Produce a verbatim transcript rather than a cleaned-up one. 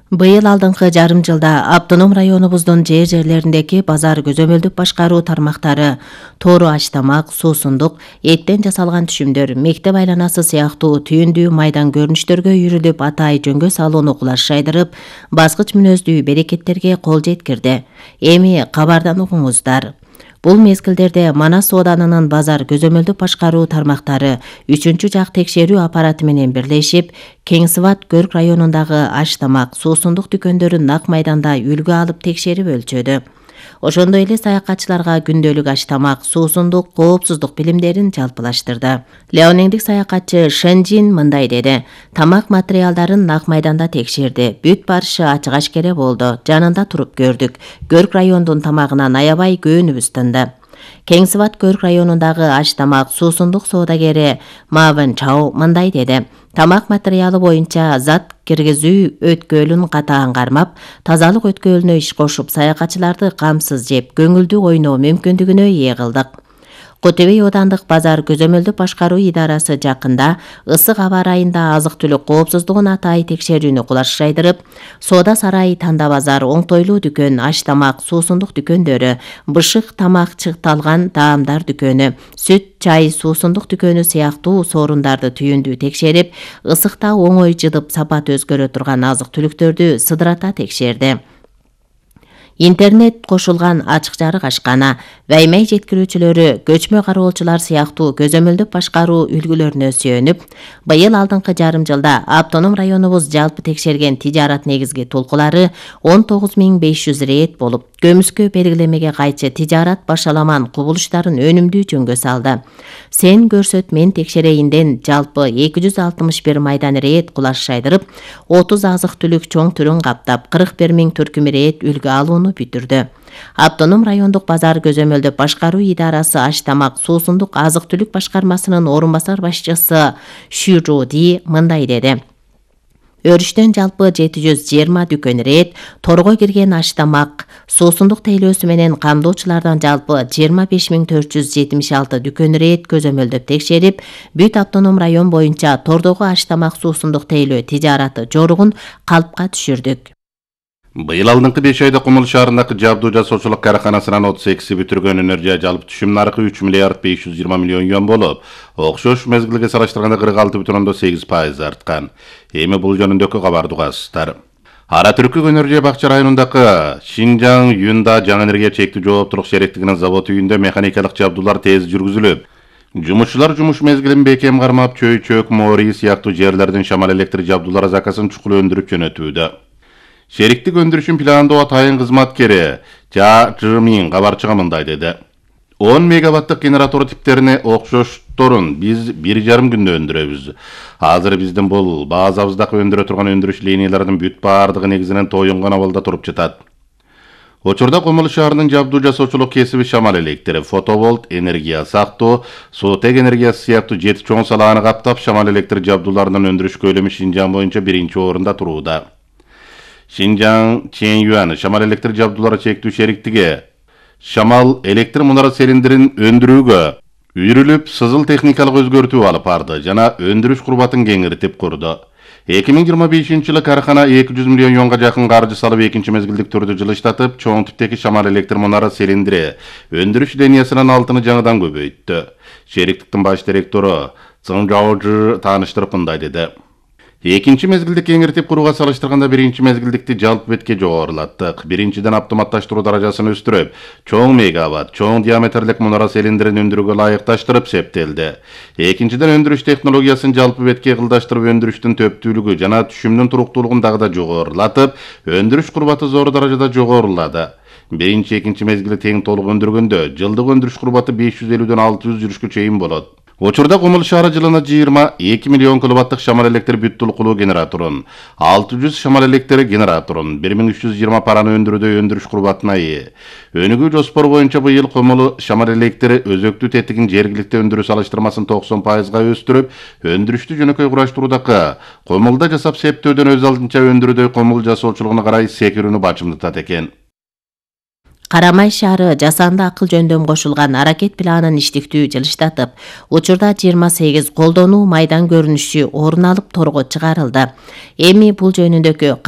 Быйыл алдыңкы жарым жылда автоном районубуздун жер жерлериндеги базар көзөмөлдүк башкаруу тармактары тоору аш-тамак, суусундук, эттен жасалган түшүмдөр, мектеп айланасы сыяктуу түйүндүү майдан көрүнүштөргө үйрүлүп атайы жөнгө салууну кулаш жайдырып, баскыч мүнөздүү берекеттерге кол жеткирди. Эми кабардан угуңуздар. Бул мезгилдерде Манас сооданынын базар көзөмөлдүк башкаруу тармактары үчүнчү жак текшерүү аппараты менен бирлешип, Кең Сыбат Көрк районундагы аш-тамак, суусундук дүкөндөрүн нак майданда үлгү алып текшерип өлчөдү. Ошондой эле саякатчыларга күндөлүк аш-тамак, суусундук, коопсуздук билимдерин жалпылаштырды. Леонеңдик саякатчы Шенжин мындай деди: тамак материалдарын нак майданда текшерди. Бүт барышы ачык-ашкере болду. Жанында туруп көрдүк. Көрк райондун тамагынан аябай көөнүбүз тынды. Кең Сыбат Көрк районундагы аш-тамак, суусундук соодагери Мавен Чао мындай деди: тамак материалы боюнча зат киргизүү өткөөлүн катаан кармап, тазалык өткөөлүнө иш кошуп, саякатчыларды камсыз жеп, көңүлдүү ойноо мүмкүндүгүнө ээ кылдык. Котебей оодандык базар көзөмөлдүк башкаруу идарасы жакында ысык аба ырайында азык-түлүк коопсуздугун атайы текшерүүнү кулаш жайдырып, соода сарайы Танда базар, оңтойлуу дүкөн, аш-тамак, суусундук дүкөндөрү, бышык тамак чыкталган даамдар дүкөнү, сүт, чай, суусундук дүкөнү сыяктуу соорундарды түйүндүү текшерип, ысыкта оңой жыдып сапаты өзгөрө турган азык-түлүктөрдү сыдырата текшерди. Интернет кошулган ачык жарык ашкана, баймай жеткирүүчүлөрү, көчмө кароолчулар сыяктуу көзөмөлдүк башкаруу үлгүлөрүнө сүйөнүп, быйыл алдыңкы жарым жылда автоном районубуз жалпы текшерген тижарат негизги толкулары он тогуз миң беш жүз рейд болуп, көмүскө белгилемеге кайчы тижарат башаламан кубулуштарын өнүмдүү жөнгө салды. Сен көрсөт мен текшерейинден жалпы эки жүз алтымыш бир майдан рейд кулаш жайдырып, отуз азык-түлүк чоң түрүн каптап, кырк бир миң түркүм рейд үлгү алууну бүтүрдү. Автоном райондук базар көзөмөлдүк башкаруу идарасы аш-тамак, суусундук, азык-түлүк башкармасынын орун басар башчысы Шү Жу Ди мындай деди: өрүштөн жалпы жети жүз жыйырма дүкөн рейд, торго кирген аш-тамак, суусундук тейлөөсү менен камдоочулардан жалпы жыйырма беш миң төрт жүз жетимиш алты дүкөн рейд көзөмөлдөп текшерип, бүт автоном район боюнча тордогу аш-тамак, суусундук тейлөө тижараты жоругун калпка түшүрдүк. Быйыл алдыңкы беш айда Кумул шаарындагы жабдуу жасоочулук караканасынан отуз экиси бүтүргөн энергия жалпы түшүм наркы үч миллиард беш жүз жыйырма миллион юан болуп, окшош мезгилге салыштырганда кырк алты бүтүн ондон сегиз пайыз арткан. Эми бул жөнүндөгү кабарды угасыздар. Ара Түркүк энергия бакча районундагы Шинжаң Юнда жаңы энергия чектүү жооптуулук шериктигинин завод үйүндө механикалык жабдуулар тез жүргүзүлүп, жумушчулар жумуш мезгилин бекем кармап, чөй чөк, моори сыяктуу жерлердин шамал электр жабдуулары закасын чукул өндүрүп жөнөтүүдө. Шериктик өндүрүшүн пландоо атайын кызматкери Жа Жымин кабарчыга мындай деди: он мегаваттык генератор типтерине окшошторун биз бир жарым күндө өндүрөбүз. Азыр биздин бул базабыздагы өндүрө турган өндүрүш линияларынын бүт баардыгы негизинен тоюнган абалда туруп жатат. Учурда Кумул шаарынын жабдуу жасоочулук кесиби шамал электри, фотоволт, энергия сактоо, суутек энергиясы сыяктуу жети чоң салааны каптап, шамал электр жабдууларынын өндүрүш көлөмү Шинжаң боюнча биринчи орунда турууда. Шинжаң Чэньюан шамал электр жабдуулары чектүү шериктиги шамал электр мунара цилиндрин өндүрүүгө үйрүлүп, сызыл техникалык өзгөртүү алып барды жана өндүрүш курбатын кеңиртип курду. эки миң жыйырма бешинчи жылы карахана эки жүз миллион юанга жакын каржы салып экинчи мезгилдик түрдө жылыштатып, чоң типтеги шамал электр мунара цилиндри өндүрүш линиясынын алтыны жаңыдан көбөйттү. Шериктиктин баш директору Цың Жаожы тааныштырып мындай деди: экинчи мезгилди кеңиртип курууга салыштырганда биринчи мезгилдикти жалпы бетке жогорулаттык. Биринчиден автоматташтыруу даражасын өстүрүп, чоң мегаватт, чоң диаметрлик мунара цилиндрин өндүрүүгө ылайыкташтырып септелди. Экинчиден өндүрүш технологиясын жалпы бетке кылдаштырып, өндүрүштүн төптүүлүгү жана түшүмдүн туруктуулугун дагы да жогорулатып, өндүрүш курбаты зор даражада жогорулады. Биринчи, экинчи мезгили тең толук өндүргөндө жылдык өндүрүш курбаты беш жүз элүүдөн алты жүз жүрүшкө чейин болот. Учурда Кумул шаары жылына жыйырма эки миллион киловаттык шамал электр бүт толкулуу генераторун, алты жүз шамал электр генераторун, бир миң үч жүз жыйырма параны өндүрүүдө өндүрүш курбатына ээ. Өнүгүү жоспор боюнча быйыл Кумул шамал электр өзөктүү тетигин жергиликтүү өндүрүү салыштырмасын токсон пайызга өстүрүп, өндүрүштү жөнөкөй кураштыруудагы Кумулда жасап септөөдөн өз алдынча өндүрүүдө Кумул жасоочулугуна карай секирүүнү бачымдатат экен. Карамай шаары жасанды акыл жөндөм кошулган аракет планын иштиктүү жылыштатып, учурда жыйырма сегиз колдонуу майдан көрүнүшү орун алып торго чыгарылды. Эми бул жөнүндөгү